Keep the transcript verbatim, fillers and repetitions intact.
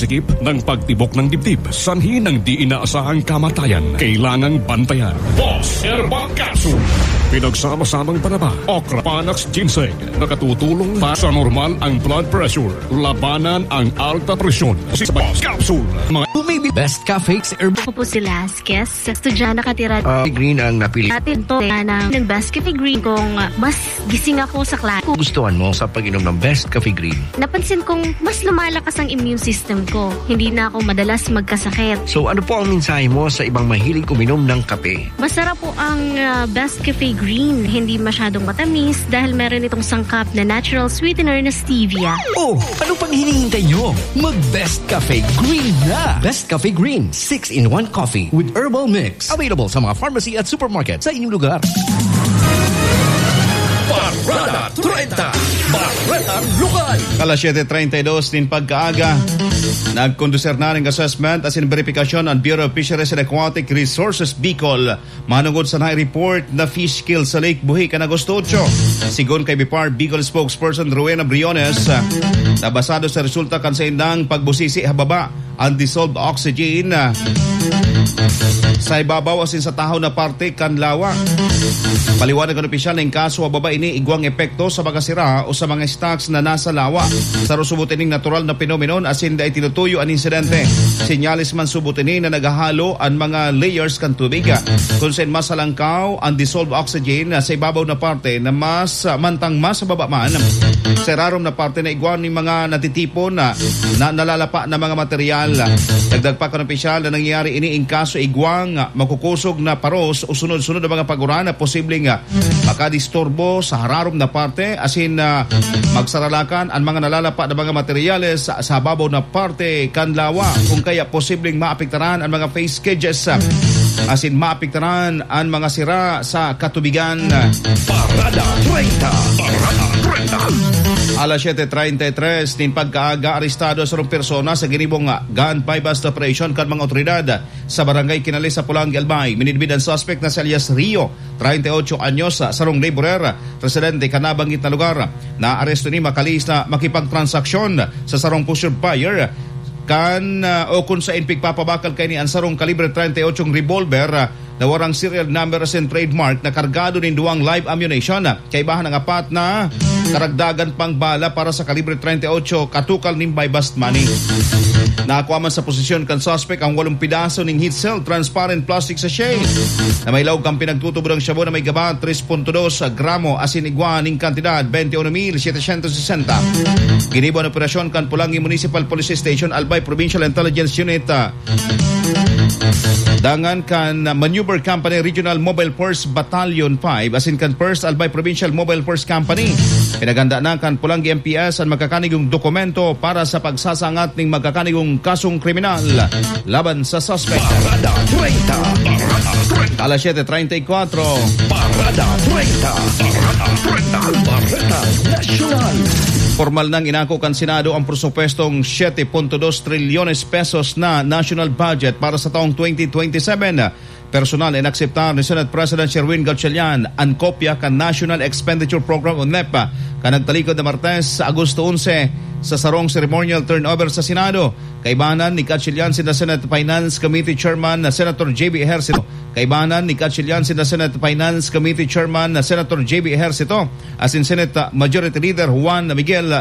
Sikip ng pagtibok ng dibdib, sanhi ng di inaasahang kamatayan. Kailangang bantayan. Boss Herbal Capsule. Pinagsama-samang panaba, okra, panax, ginseng. Nakatutulong pa sa normal ang blood pressure. Labanan ang alta presyon. Si Boss Capsule. Mga Tumibig Best Cafe Herbal. Ako po si Las Kes, estudyante nakatira. Ah, green ang napili. Atin to, ng, ng Best Cafe Green kung mas gising ako sa klase. Gustuhan mo sa pag-inom ng Best Cafe Green? Napansin kong mas lumalakas ang immune system ko. Hindi na ako madalas magkasakit. So, ano po ang mensahe mo sa ibang mahilig uminom ng kape? Masarap po ang, ah, Best Cafe Green. Hindi masyadong matamis dahil meron itong sangkap na natural sweetener na stevia. Oh, ano pang hinihintay nyo? Mag Best Cafe Green na! Best Cafe Green, six-in-one coffee with herbal mix. Available sa mga pharmacy at supermarket sa inyong lugar. Parada treinta, Parada Lokal. Alas siyete treinta y dos nin pagkaaga, nagkondusir na ning assessment asin beripikasyon an Bureau of Fisheries and Aquatic Resources Bicol manungod sa na-report na fish kill sa Lake Buhi kan Agosto otso. Sigon kay BFAR Bicol spokesperson Rowena Briones, na basado sa resulta kan saindang pagbusisi ha baba, ang dissolved oxygen, ah, sa ibabaw asin sa tahaw na parte kan lawa. Paliwanag kan opisyal na in kaso ha baba ini igwang epekto sa mga sira o sa mga stocks na nasa lawa. Saro subot ining natural na phenomenon asin dai tinutuyo an insidente. Senyales man subot ini na naghahalo an mga layers kan tubig, ah, kun sain mas halangkaw ang dissolved oxygen, ah, sa ibabaw na parte na mas, ah, mantang mas sa baba man. Sa irarom na parte na igwa nin mga natitipon na, na nalalapa na mga material. Dagdag pa kan opisyal na nangyayari ini in kaso igwang makukusog na paros o sunod-sunod na mga paguran na posibleng, ah, makadisturbo sa hararom na parte, asin, ah, magsaralakan an mga nalalapa na mga materyales sa, sa babaw na parte kan lawa, kung kaya posibleng maapektaran an mga face cages, ah, asin maapektaran an mga sira sa katubigan. Parada treinta. Parada treinta. Alas siyete treinta y tres nin pagkaaga, arestado sarong persona sa ginibong gun buy-bust operation kan mga otoridad sa Barangay Kinali sa Polangui, Albay. Minidbid ang suspek na si alias Rio, treinta y ocho anyos, sarong laborer, residente kan nabanggit na lugar. Naaresto ini makalis na makipagtransaksyon sa sarong poseur buyer kan, ah, o kun sain pigpapabakal kaini an sarong kalibre treinta y ocho revolver, ah, na warang serial number asin trademark na kargado nin duwang live ammunition, ah, kaibahan ang apat na karagdagan pang bala para sa kalibre treinta y ocho katukal nin buy-bust money. Nakuha man sa posisyon kan suspek ang walong pidaso nin heat-sealed transparent plastic sachet na may laog kan pinagtutubod ang shabu na may gaba tres punto dos gramo asin igwa nin kantidad twenty-uno mil setecientos sesenta. Ginibo an operasyon kan Polangui Municipal Police Station, Albay Provincial Intelligence Unit, ah, dangan kan Maneuver Company Regional Mobile Force Battalion five asin kan First Albay Provincial Mobile Force Company. Pinaghanda na kan Polangui M P S an magkakanigong dokumento para sa pagsasangat ning magkakanigong kasong kriminal laban sa suspect. Parada treinta. Parada treinta. Alas siyete treinta y cuatro. Parada treinta. Parada treinta. Parada Nasyonal. Formal nang inako kan Senado ang presupuestong siyete punto dos trilyones pesos na national budget para sa taong twenty twenty-seven. Personal na inakseptar ni Senate President Sherwin Gatchalian an kopya kan National Expenditure Program o NEP kan nagtalikod na Martes, Agosto onse, sa sarong ceremonial turnover sa Senado. Kaibanan ni Gatchalian sinda Senate Finance Committee Chairman na Senator J B Ejercito. Kaibanan ni Gatchalian sinda Senate Finance Committee Chairman na Senator J B Ejercito asin Senate Majority Leader Juan Miguel